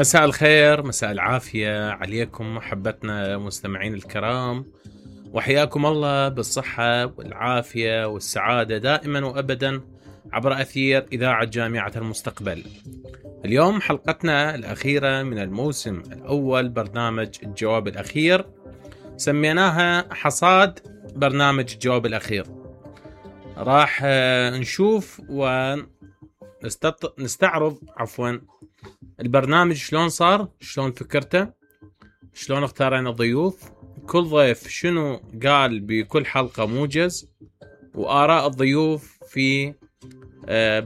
مساء الخير، مساء العافية عليكم محبتنا مستمعين الكرام، وحياكم الله بالصحة والعافية والسعادة دائما وأبدا عبر أثير إذاعة جامعة المستقبل. اليوم حلقتنا الأخيرة من الموسم الأول برنامج الجواب الأخير، سميناها حصاد برنامج الجواب الأخير. راح نشوف ونستعرض البرنامج شلون صار، شلون فكرته، شلون اختارنا الضيوف، كل ضيف شنو قال بكل حلقة موجز، وآراء الضيوف في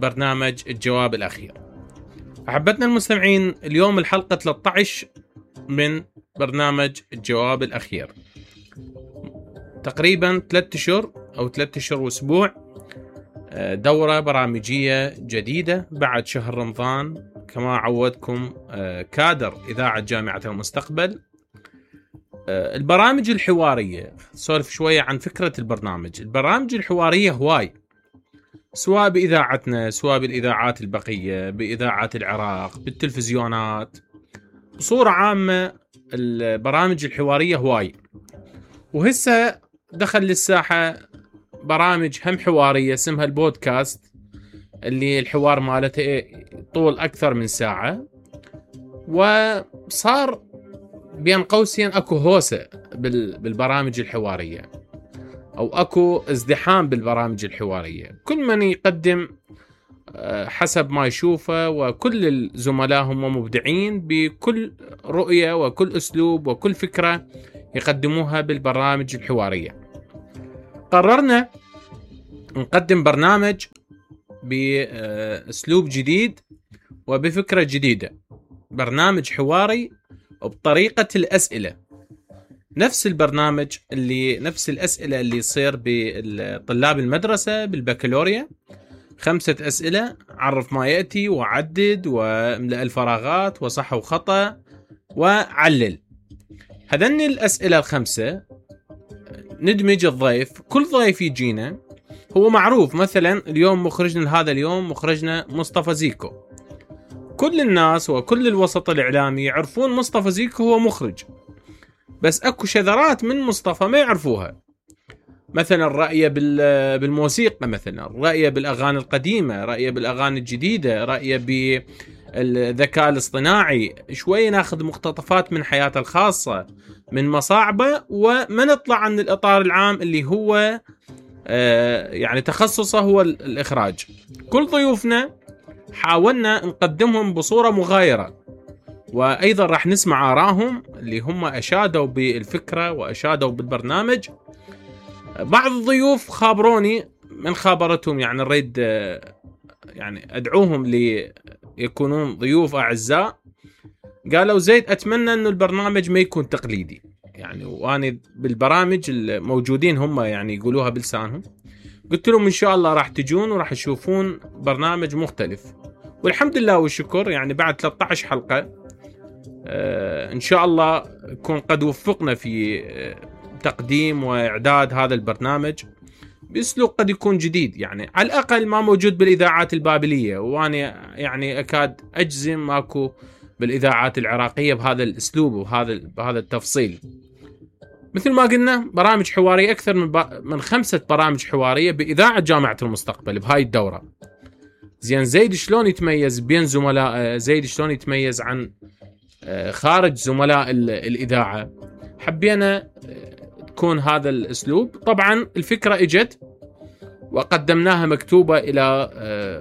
برنامج الجواب الأخير. أحبتنا المستمعين، اليوم الحلقة 13 من برنامج الجواب الأخير، تقريبا 3 أشهر أو 3 أشهر وأسبوع، دورة برامجية جديدة بعد شهر رمضان كما عودكم كادر إذاعة جامعة المستقبل. البرامج الحوارية، سولف شوية عن فكرة البرامج الحوارية هواي، سواء بإذاعتنا سواء بالإذاعات البقية، بإذاعات العراق، بالتلفزيونات، بصورة عامة البرامج الحوارية هواي. وهسه دخل للساحة برامج هم حوارية اسمها البودكاست، اللي الحوار مالته طول أكثر من ساعة، وصار بين قوسين أكو هوسة بالبرامج الحوارية، أو أكو ازدحام بالبرامج الحوارية، كل من يقدم حسب ما يشوفه، وكل الزملاء هم مبدعين بكل رؤية وكل أسلوب وكل فكرة يقدموها بالبرامج الحوارية. قررنا نقدم برنامج بأسلوب جديد وبفكرة جديدة، برنامج حواري وبطريقة الأسئلة، نفس الأسئلة اللي يصير بطلاب المدرسة بالبكالوريا، 5 أسئلة: عرف ما يأتي، وعدد، واملأ الفراغات، وصح وخطأ، وعلل. هذن الأسئلة 5 ندمج الضيف، كل ضيف يجينا هو معروف، مثلا اليوم هذا اليوم مخرجنا مصطفى زيكو، كل الناس وكل الوسط الإعلامي يعرفون مصطفى زيكو هو مخرج، بس أكو شذرات من مصطفى ما يعرفوها، مثلا رأيه بالموسيقى، مثلا رأيه بالأغاني القديمة، رأيه بالأغاني الجديدة، رأيه بالذكاء الاصطناعي، شوي ناخذ مقتطفات من حياته الخاصة، من مصاعبه، وما نطلع عن الإطار العام اللي هو يعني تخصصه هو الإخراج. كل ضيوفنا حاولنا نقدمهم بصورة مغايرة، وأيضا راح نسمع آراءهم اللي هم أشادوا بالفكرة وأشادوا بالبرنامج. بعض الضيوف خابروني من خابرتهم، يعني نريد يعني أدعوهم ليكونون ضيوف أعزاء، قالوا زيد أتمنى أنه البرنامج ما يكون تقليدي، يعني وأنا بالبرامج الموجودين هم يعني يقولوها بلسانهم. قلت لهم إن شاء الله راح تجون وراح تشوفون برنامج مختلف، والحمد لله والشكر، يعني بعد 13 حلقة إن شاء الله يكون قد وفقنا في تقديم وإعداد هذا البرنامج بأسلوب قد يكون جديد، يعني على الأقل ما موجود بالإذاعات البابلية، وأنا يعني أكاد أجزم ماكو بالإذاعات العراقية بهذا الأسلوب وبهذا التفصيل. مثل ما قلنا برامج حوارية، أكثر من 5 برامج حوارية بإذاعة جامعة المستقبل بهاي الدورة. زين، زيد شلون يتميز بين زملاء، زيد شلون يتميز عن خارج زملاء الإذاعة، حبينا تكون هذا الأسلوب. طبعا الفكرة اجت وقدمناها مكتوبة إلى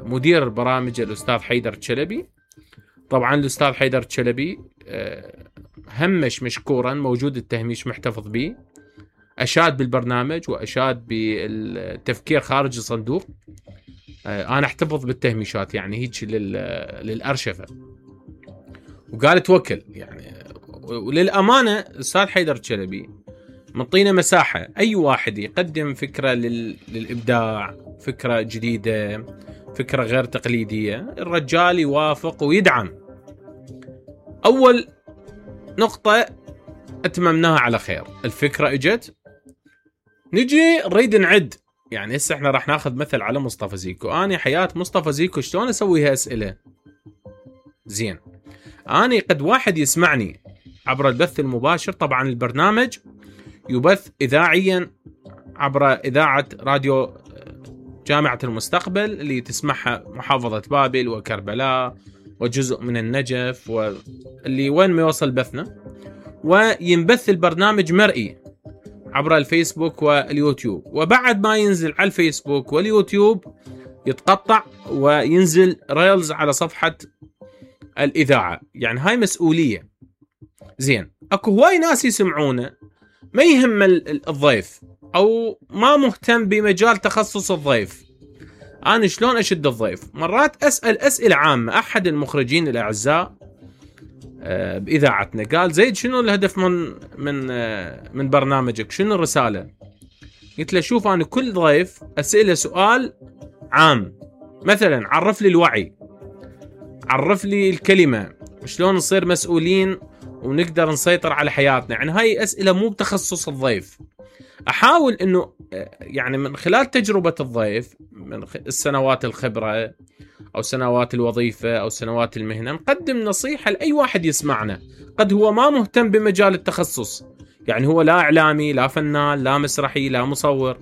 مدير البرامج الأستاذ حيدر الشلبي. طبعا الأستاذ حيدر الشلبي همش مشكورا، موجود التهميش محتفظ به، أشاد بالبرنامج وأشاد بالتفكير خارج الصندوق. أنا احتفظ بالتهميشات يعني هيك للأرشفة، وقال توكل يعني. وللأمانة الأستاذ حيدر الشلبي منطينا مساحة، أي واحد يقدم فكرة للإبداع، فكرة جديدة، فكرة غير تقليدية، الرجال يوافق ويدعم. أول نقطة أتممناها على خير، الفكرة اجت، نجي نريد نعد. يعني هسه احنا راح ناخذ مثل على مصطفى زيكو. أنا حياة مصطفى زيكو شلون أسويها أسئلة؟ زين، أنا قد واحد يسمعني عبر البث المباشر. طبعا البرنامج يبث إذاعيا عبر إذاعة راديو جامعة المستقبل اللي تسمعها محافظة بابل وكربلاء وجزء من النجف واللي وين ما يوصل بثنا. وينبث البرنامج مرئي عبر الفيسبوك واليوتيوب، وبعد ما ينزل على الفيسبوك واليوتيوب يتقطع وينزل ريلز على صفحة الإذاعة. يعني هاي مسؤولية. زين، أكو هواي ناس يسمعونه ما يهم الضيف أو ما مهتم بمجال تخصص الضيف. أنا شلون أشد الضيف؟ مرات أسأل أسئلة عامة. أحد المخرجين الأعزاء بإذاعتنا قال: زيد، شنو الهدف من برنامجك؟ شنو الرسالة؟ قلت له: شوف، أنا كل ضيف أسأله سؤال عام، مثلا عرف لي الوعي، عرف لي الكلمة، شلون نصير مسؤولين ونقدر نسيطر على حياتنا. يعني هاي أسئلة مو بتخصص الضيف. أحاول أنه يعني من خلال تجربة الضيف، من السنوات الخبرة أو سنوات الوظيفة أو سنوات المهنة، نقدم نصيحة لأي واحد يسمعنا. قد هو ما مهتم بمجال التخصص، يعني هو لا إعلامي، لا فنان، لا مسرحي، لا مصور،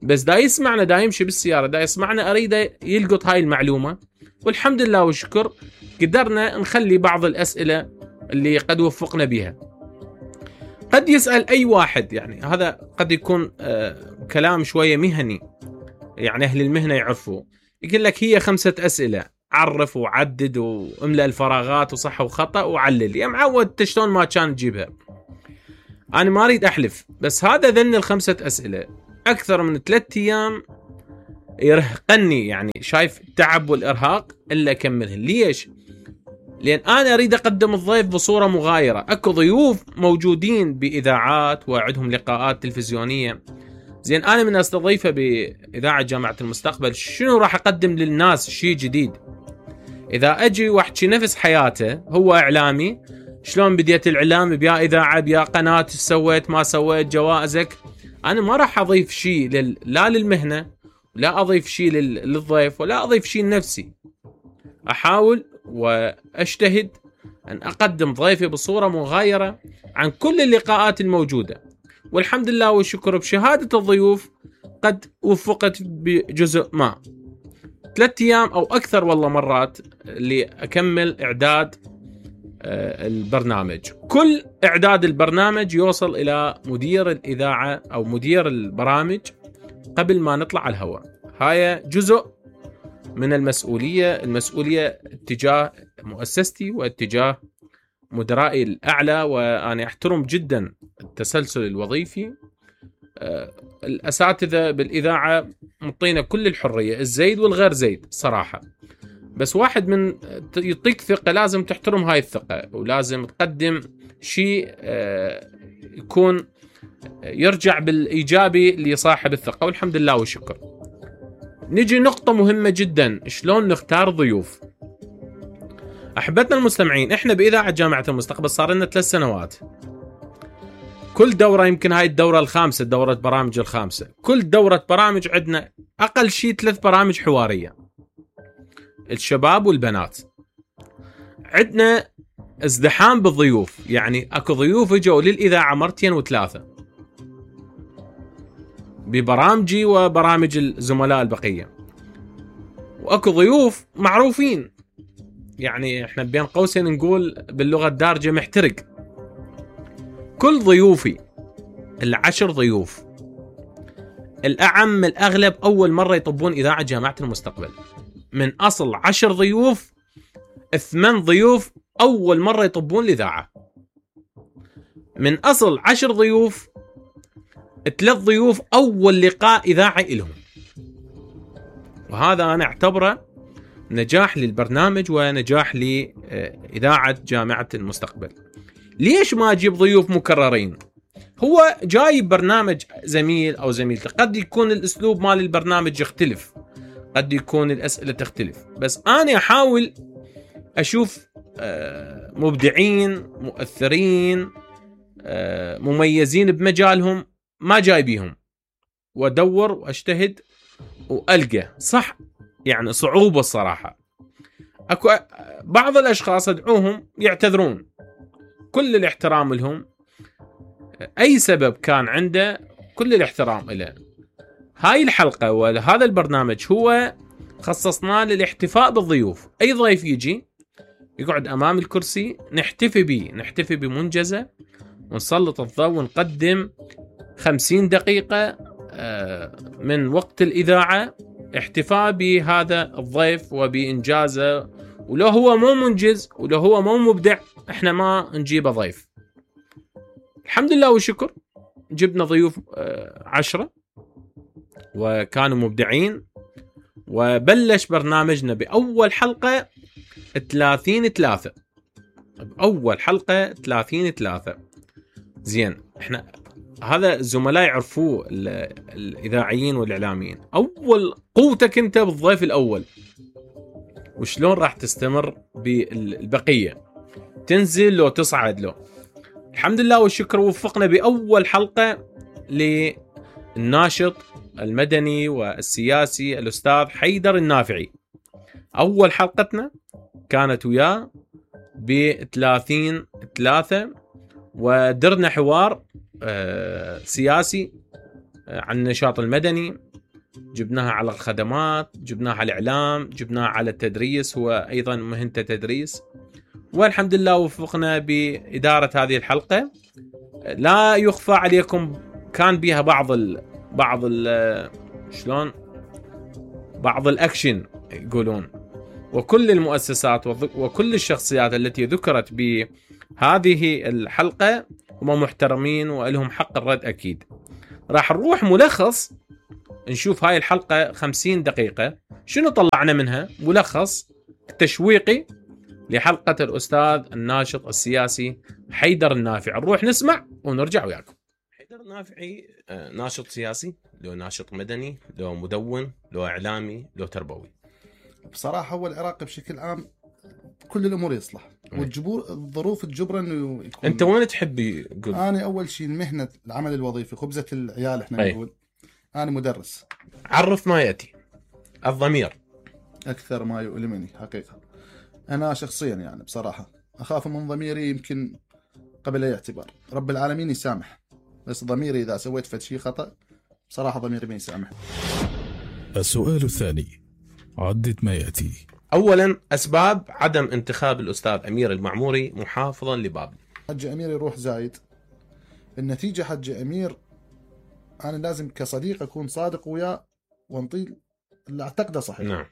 بس دا يسمعنا، دا يمشي بالسيارة، دا يسمعنا، أريد يلقط هاي المعلومة. والحمد لله والشكر قدرنا نخلي بعض الأسئلة اللي قد وفقنا بها. قد يسأل أي واحد، يعني هذا قد يكون كلام شوية مهني، يعني أهل المهنة يعرفوا. يقول لك هي 5 أسئلة، عرف وعدد واملأ الفراغات وصح وخطأ وعلل. يا معود شلون ما كان تجيبها. أنا ما أريد أحلف، بس هذا ذن 5 أسئلة أكثر من 3 أيام يرهقني، يعني شايف التعب والإرهاق إلا أكملهن. ليش؟ لأن أنا أريد أقدم الضيف بصورة مغايرة. أكو ضيوف موجودين بإذاعات وعندهم لقاءات تلفزيونية. زين، أنا من أستضيفه بإذاعة جامعة المستقبل، شنو راح أقدم للناس شيء جديد؟ إذا أجي واحكي نفس حياته، هو إعلامي، شلون بديت الإعلام، بيا إذاعة، بيا قناة، سويت ما سويت، جوائزك، أنا ما راح أضيف شيء لا للمهنة، لا أضيف شيء للضيف، ولا أضيف شيء لنفسي. أحاول وأجتهد أن أقدم ضيفي بصورة مغايرة عن كل اللقاءات الموجودة. والحمد لله والشكر بشهادة الضيوف قد وفقت بجزء ما. 3 أيام أو أكثر والله مرات اللي أكمل إعداد البرنامج. كل إعداد البرنامج يوصل إلى مدير الإذاعة أو مدير البرامج قبل ما نطلع على الهواء. هاي جزء من المسؤولية اتجاه مؤسستي واتجاه مدرائي الأعلى. وأنا أحترم جدا التسلسل الوظيفي. الأساتذة بالإذاعة مطينا كل الحرية، الزيد والغير زيد صراحة، بس واحد من يعطيك ثقة لازم تحترم هاي الثقة، ولازم تقدم شيء يكون يرجع بالإيجابي لصاحب الثقة. والحمد لله والشكر. نجي نقطة مهمة جدا، شلون نختار ضيوف. أحبتنا المستمعين، إحنا بإذاعة جامعة المستقبل صار لنا 3 سنوات. كل دورة، يمكن هاي الدورة الخامسة، دورة برامج الخامسة، كل دورة برامج عندنا أقل شيء 3 برامج حوارية، الشباب والبنات. عندنا ازدحام بالضيوف، يعني أكو ضيوف جوا للإذاعة 2 و3 ببرامجي وبرامج الزملاء البقية، وأكو ضيوف معروفين، يعني إحنا بين قوسين نقول باللغة الدارجة محترق. كل ضيوفي 10 ضيوف الأعم الأغلب أول مرة يطبون إذاعة جامعة المستقبل. من أصل 10 ضيوف 8 ضيوف أول مرة يطبون الإذاعة. من أصل 10 ضيوف 3 ضيوف أول لقاء إذاعي لهم. وهذا أنا أعتبره نجاح للبرنامج ونجاح لإذاعة جامعة المستقبل. ليش ما أجيب ضيوف مكررين؟ هو جايب برنامج زميل أو زميلته، قد يكون الأسلوب مال البرنامج يختلف، قد يكون الأسئلة تختلف، بس أنا أحاول أشوف مبدعين مؤثرين مميزين بمجالهم ما جايبيهم، وأدور وأجتهد وألقى صح. يعني صعوبة الصراحة. اكو بعض الاشخاص ادعوهم يعتذرون، كل الاحترام لهم، اي سبب كان عنده كل الاحترام له. هاي الحلقة وهذا البرنامج هو خصصناه للاحتفاء بالضيوف. اي ضيف يجي يقعد امام الكرسي نحتفي به، نحتفي بمنجزة ونسلط الضوء ونقدم 50 دقيقة من وقت الإذاعة احتفاء بهذا الضيف وبإنجازه. ولو هو مو منجز ولو هو مو مبدع احنا ما نجيبه ضيف. الحمد لله والشكر جبنا ضيوف 10 وكانوا مبدعين، وبلش برنامجنا بأول حلقة 30/3. بأول حلقة 30/3. زين، احنا هذا الزملاء يعرفوه الإذاعيين والإعلاميين، أول قوتك أنت بالضيف الأول، وشلون راح تستمر بالبقية، تنزل لو تصعد له. الحمد لله والشكر وفقنا بأول حلقة للناشط المدني والسياسي الأستاذ حيدر النافعي. أول حلقتنا كانت وياه ب30/3، ودرنا حوار سياسي عن النشاط المدني، جبناها على الخدمات، جبناها على الإعلام، جبناها على التدريس، هو أيضا مهنته تدريس. والحمد لله وفقنا بإدارة هذه الحلقة. لا يخفى عليكم كان بها بعض الأكشن يقولون، وكل المؤسسات وكل الشخصيات التي ذكرت بهذه الحلقة هم محترمين ولهم حق الرد أكيد. راح نروح ملخص نشوف هاي الحلقة 50 دقيقة شنو طلعنا منها، ملخص تشويقي لحلقة الأستاذ الناشط السياسي حيدر النافعي. نروح نسمع ونرجع وياكم. حيدر النافعي ناشط سياسي، لو ناشط مدني، لو مدون، لو إعلامي، لو تربوي. بصراحة هو العراق بشكل عام كل الأمور يصلح، والظروف تجبر إنه يكون. أنت وين تحبي؟ قل. أنا أول شيء المهنة، العمل الوظيفي، خبزة العيال إحنا نقول. أنا مدرس. عرف ما يأتي. الضمير أكثر ما يؤلمني حقيقة. أنا شخصيا يعني بصراحة أخاف من ضميري، يمكن قبل أي اعتبار. رب العالمين يسامح، بس ضميري إذا سويت فد شيء خطأ بصراحة ضميري ما يسامح. السؤال الثاني، عدد ما يأتي. أولا، أسباب عدم انتخاب الأستاذ أمير المعموري محافظا لبابل. حج أمير يروح زايد. النتيجة حج أمير أنا لازم كصديق أكون صادق وياه وانطيل اللي أعتقده صحيح. نعم.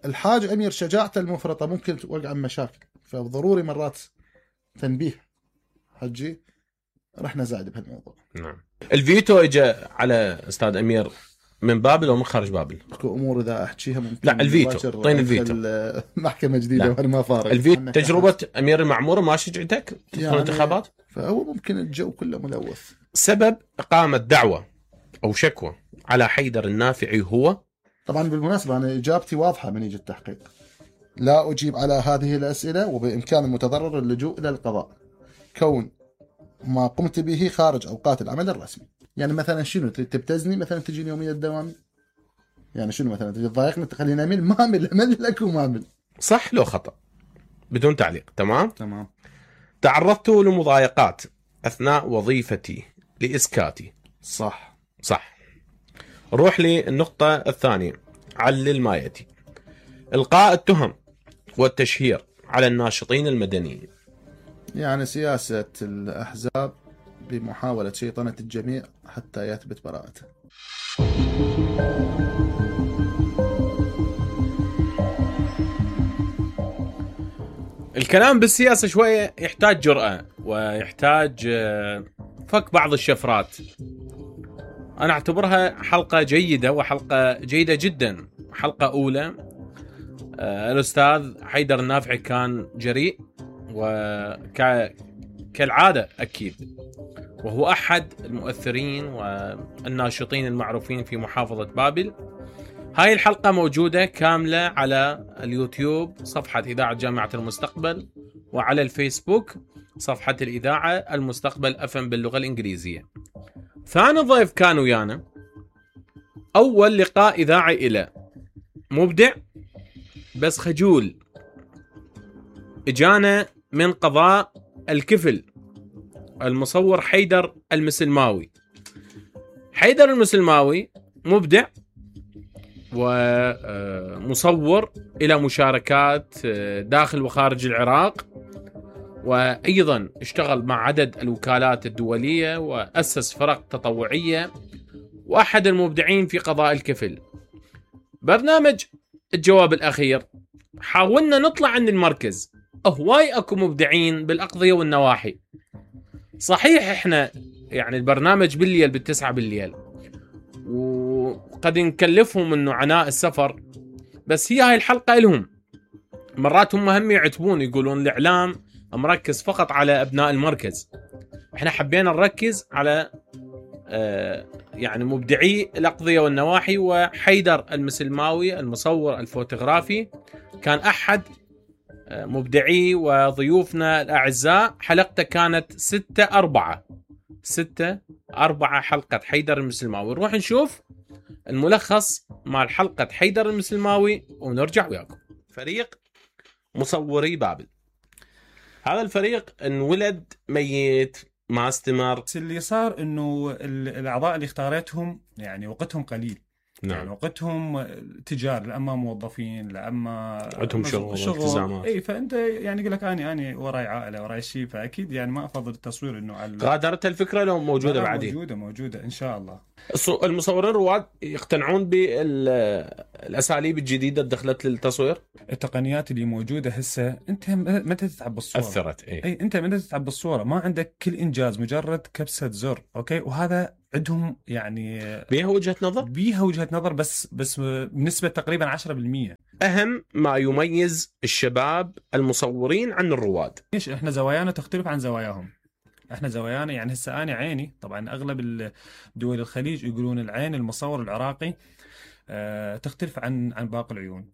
الحاج أمير شجاعته المفرطة ممكن توقع مشاكل، فضروري مرات تنبيه. حجي رحنا زايد بهالموضوع. نعم. الفيتو اجى على أستاذ أمير من بابل ومن خارج بابل. اكو امور اذا احكيها ممكن. لا الفيتو، طين الفيتو. محكمة جديدة وانا ما فارق. الفيتو تجربة أمير المعموري ما شجعتك تدخل يعني انتخابات؟ فهو ممكن الجو كله ملوث. سبب إقامة دعوة أو شكوى على حيدر النافعي هو؟ طبعا بالمناسبة أنا إجابتي واضحة من يجي التحقيق. لا أجيب على هذه الأسئلة، وبإمكان المتضرر اللجوء إلى القضاء كون ما قمت به خارج أوقات العمل الرسمي. يعني مثلا شنو تبتزني، مثلا تجيني يومية الدوام، يعني شنو مثلا تجي تضايقني تخليني أميل، ما أمل لك وما أمل. صح لو خطأ؟ بدون تعليق. تمام. تعرضت لمضايقات أثناء وظيفتي لإسكاتي. صح. روح للنقطة الثانية، علل ما يأتي. إلقاء التهم والتشهير على الناشطين المدنيين. يعني سياسة الأحزاب بمحاولة شيطنة الجميع حتى يثبت براءته. الكلام بالسياسة شوية يحتاج جرأة ويحتاج فك بعض الشفرات. أنا أعتبرها حلقة جيدة وحلقة جيدة جدا. حلقة أولى، الأستاذ حيدر النافعي كان جريء كالعادة أكيد، وهو أحد المؤثرين والناشطين المعروفين في محافظة بابل. هاي الحلقة موجودة كاملة على اليوتيوب صفحة إذاعة جامعة المستقبل، وعلى الفيسبوك صفحة الإذاعة المستقبل FM باللغة الإنجليزية. ثاني ضيف كان ويانا، أول لقاء إذاعي إله، مبدع بس خجول اجانا من قضاء الكفل المصور حيدر المسلماوي. حيدر المسلماوي مبدع ومصور إلى مشاركات داخل وخارج العراق، وأيضا اشتغل مع عدد الوكالات الدولية وأسس فرق تطوعية، وأحد المبدعين في قضاء الكفل. برنامج الجواب الأخير حاولنا نطلع عن المركز، هواي أكو مبدعين بالأقضية والنواحي. صحيح إحنا يعني البرنامج بالليل بالتسعة بالليل، وقد نكلفهم انه عناء السفر، بس هي هاي الحلقة لهم. مرات هم يعتبون يقولون الاعلام مركز فقط على ابناء المركز، احنا حبينا نركز على يعني مبدعي الاقضية والنواحي. وحيدر المسلماوي المصور الفوتوغرافي كان احد مبدعي وضيوفنا الاعزاء. حلقته كانت 6/4 حلقة حيدر المسلماوي. نروح نشوف الملخص مع حلقة حيدر المسلماوي ونرجع وياكم. فريق مصوري بابل، هذا الفريق انولد ميت ما استمر. اللي صار انه الاعضاء اللي اختارتهم يعني وقتهم قليل. نعم. يعني وقتهم تجار، لا اما موظفين، لا اما عندهم شغل والتزامات. اي فانت يعني يقول لك اني وراي عائله وراي شيء، فاكيد يعني ما افضل التصوير انه على غادرت الفكره لو موجوده بعدين. موجوده ان شاء الله. المصورين الرواد يقتنعون بالاساليب الجديده دخلت للتصوير. التقنيات اللي موجوده هسه انت متى تتعب بالصوره اثرت. اي انت متى تتعب بالصوره، ما عندك كل انجاز مجرد كبسه زر. اوكي، وهذا عندهم يعني بيها وجهه نظر بس بنسبه تقريبا 10%. اهم ما يميز الشباب المصورين عن الرواد، ليش احنا زوايانا تختلف عن زواياهم. احنا زوايانا يعني هسه انا عيني، طبعا اغلب دول الخليج يقولون العين المصور العراقي تختلف عن باقي العيون.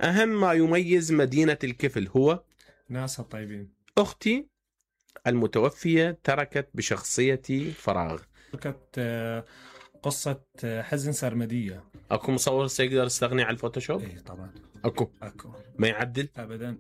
اهم ما يميز مدينه الكفل هو ناسها الطيبين. اختي المتوفيه تركت بشخصيتي فراغ. تركت قصه حزن سرمديه. اكو مصور سيقدر يستغني عن الفوتوشوب؟ ايه طبعا اكو اكو ما يعدل ابدا.